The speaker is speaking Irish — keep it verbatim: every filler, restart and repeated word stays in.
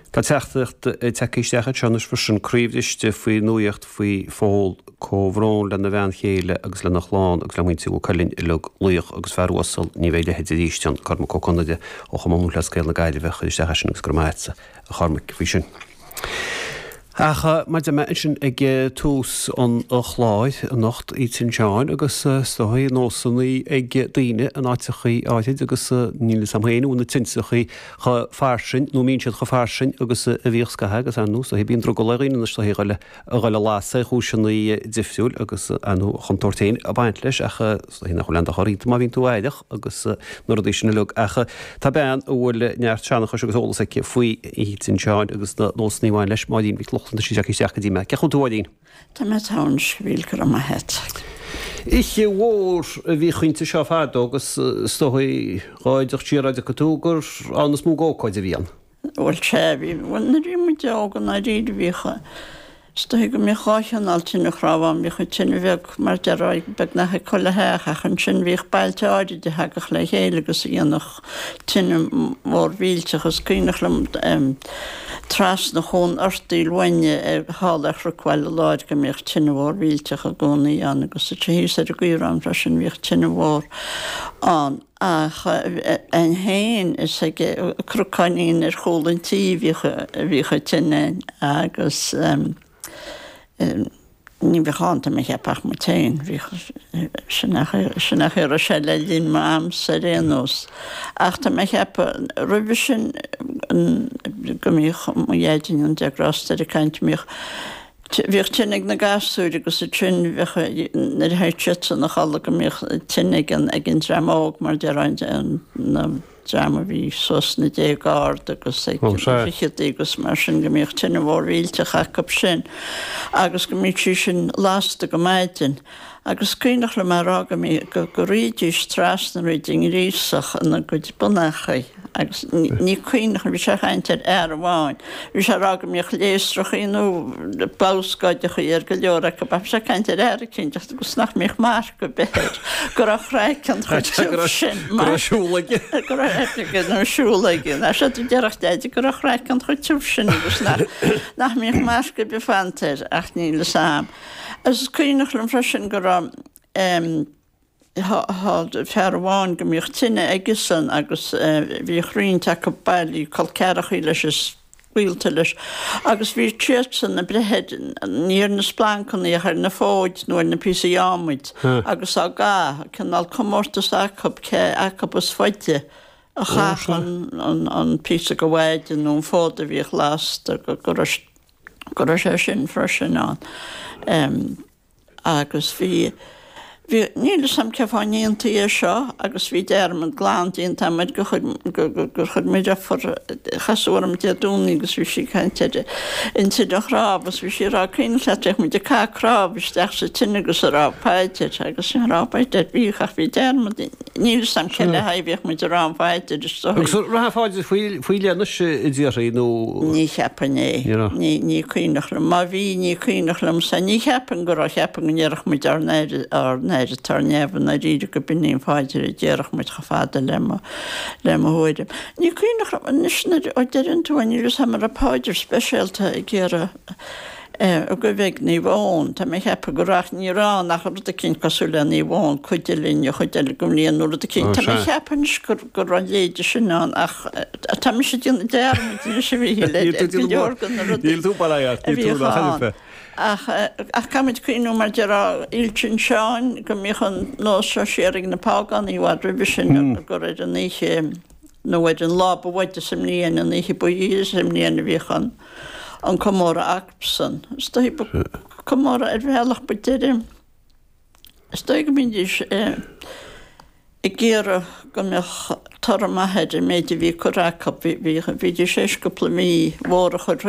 Tá teachtaireacht tagtha isteach anseo anois freisin croíbhriste faoi nuaíocht faoi Phól comhbhrón lena bhean chéile agus lena chlann agus le muintir Mhaigh Cuilinn uilig laoch agus fear uasal ní bheidh a leithéid arís ann Cormac Ó Conaire ó Chumann Lúthchleas Gael na Gaillimhe chuir isteach é sin agus go raibh maith agatsa a Chormaic faoi sin. Ach mar a deir mé ansin ag tús an chláir anocht Oíche Sheáin agus is dóigh nósanna ag daoine in áiteachaí áirid agus níl fhios a'm féin bhfuil na tintreachaí chomh fairsing nó mbíonn siad chomh fairsing agus a bhíodh scaitheamh agus ar ndóigh is dóigh bíonn drogall ar dhaoine anois is dóigh a dhul a lasadh ar chúiseanna difriúil agus ar ndóigh chontúirt féin ag baint leis ach is dóigh nach bhfuil aon dochar iontu má bhíonn tú aireach agus na rudaí sin uilig ach tá bean a bhfuil neart seanchais agus eolas aici faoi Oíche Sheáin agus na nósanna a bhain leis Máirín Mhic Lochlainn tá sí isteach go dtí mé. Cén chaoi a bhfuil tú Máirín? Tá mé togha a Mhíchíl go raibh maith agat. Oíche mhór a bhí iontu seo fadó agus is dóigh dhá dteacht siar a dtiocfaidh tú gur ann is mó d'ócáid a bhí ann. Bhuel sea, bhí bhuel nuair a bhí muid óg i ndáiríre bhíodh is dóigh go mbíodh dhá chineál tine chnámh ann, bhíodh an tine bheag mar déarfá beagnach ag chuile theach ach ansin bhíodh bailte áirid a thagadh le chéile agus a dhéanfadh tine mhór mhillteach. Is cuimhneach liom trasna Chuan Fhortaoil uainne thall ar Chnoc Bhaile Láir go mbíodh tine mhór mhillteach i gcónaí ann agus sa thíos ar an gCaorán freisin bhíodh tine mhór ann. Ach againn féin is ag cnocáinín ar chúl an tí a bhíodh a bhíodh an tine agus ní bheadh ann tá mé ag ceapadh ach muid féin. Bhíodh sin é sin é a raibh sé le linn m'amsa ar aon nós. Ach tá mé ag ceapadh roimhe sin go mbíodh mo dhaid in ann Dia grásta air ag caint go mbíodh Bhíodh tine ag na gasúir agus ansin bheadh nuair a théadh siadsan a chodladh go mbíodh tine ag an ag an dream óg mar déarfá an na dream a bhí suas sna déaga ard agus ag Ó na sea. ficheadaí agus mar sin go mbíodh tine mhór mhillteach acu sin agus go mbíodh sí sin lasta go maidin. Agus cuimhneach liom a rá go mbí go go rithidís trasna thríd an ngríosach ina gcuid bonnachaí agus ní cuimhneach liom bhí sé ag caint ar fhear amháin Bhí sé ag rá go mbíodh léasrachaí nó babhscáideachaí ar go leor acu ach bhí sé ag caint ar fhear eicínt agus nach mbíodh marc ar bith air, go raibh craiceann chomh tiubh sin Go raibh siúl aige. go raibh aige nó siúl aige. Ná sé do déarfadh Deaide go raibh craiceann chomh tiubh sin agus nach nach mbíodh marc ar bith fanta air ach níl fhios a'm. Agus is cuimhneach liom freisin go raibh em Tá fear amháin go mbíodh tine aigesan agus bhíodh roinnt acu bailí col ceathrachaí leis is gaolta leis agus bhí siadsan ag breith air, ní ar na splancanna ach ar na fóid nó ar na píosaí adhmaid agus á gcaitheamh, cineál comórtas acu cé acu is faide a chaithfeadh an píosa de mhaide nó an fód a bhíodh lasta go raibh sé sin freisin ann. Agus bhí, bhí, níl 'fhios a'm cé fáth a ndéantaí é seo agus bhí dearmad glan déanta a'm air gur chuir, gur, gur, gur chuir mo dheirfiúr, casadh orm Dé Domhnaigh agus bhí sí ag caint ar an tine chnámh agus bhí sí ag rá cuimhneach leat bhíodh muid ag caitheamh cnámh isteach sa tine agus ag rá paidir agus ní raibh paidir bhíodh ach bhí dearmad, níl 'fhios a'm cé le haghaidh a bhíodh muid ag rá an phaidir is dóigh. Agus an raibh paidir faoi, faoi leith anois a déarfaí nó? Ní cheapfainn é. Ní raibh. Ní, ní cuimhneach liom. Má bhí, ní cuimhneach liomsa. Ní cheapfainn go raibh, cheapfainn go ndéarfadh muid ár nAthair, ár nAthair atá ar neamh i ndáiríre go b'in í an phaidir a déarfadh muid chomh fada le mo, le mo thuairim. Ní cuimhneach liom anois nuair a deireann tú é, níl 'fhios a'm an raibh paidir speisialta ag iarraidh eh, a goibh ag Naomh Eoin. Tá mé ag ceapadh go raibh ach ní raibh ann ach rud eicínt cosúil le Naomh Eoin, cuidigh linn an chuid eile den bhliain nó rud eicínt. Ó, Tá mé ag sea. ceapadh anois gur, go raibh a leithéide sin ann ach tá mise ag déanamh dearmaid anois a Mhíchíl ar Níl tú ar go déanamh leor de na rudaí Níl tú bail ort, a níl tú bhíodh nach ann. air Ach ach caithfimid cuimhniú mar déarfá Oíche Sheáin go mbíodh an nós seo siar ag na págánaigh i bhfad roimhe sin gur ar an oíche nó ar an lá ba mhaide sa mbliain, an oíche ba ghiorra sa mbliain a bhíodh an an comóradh acusan. Is dóigh ba comóradh ar bhealach ba deireadh. Is dóigh go mbídís ag iarraidh go mbeadh toradh maith ar an méid a bhí curtha acu. Bhídís théis cúpla mí mhór a chur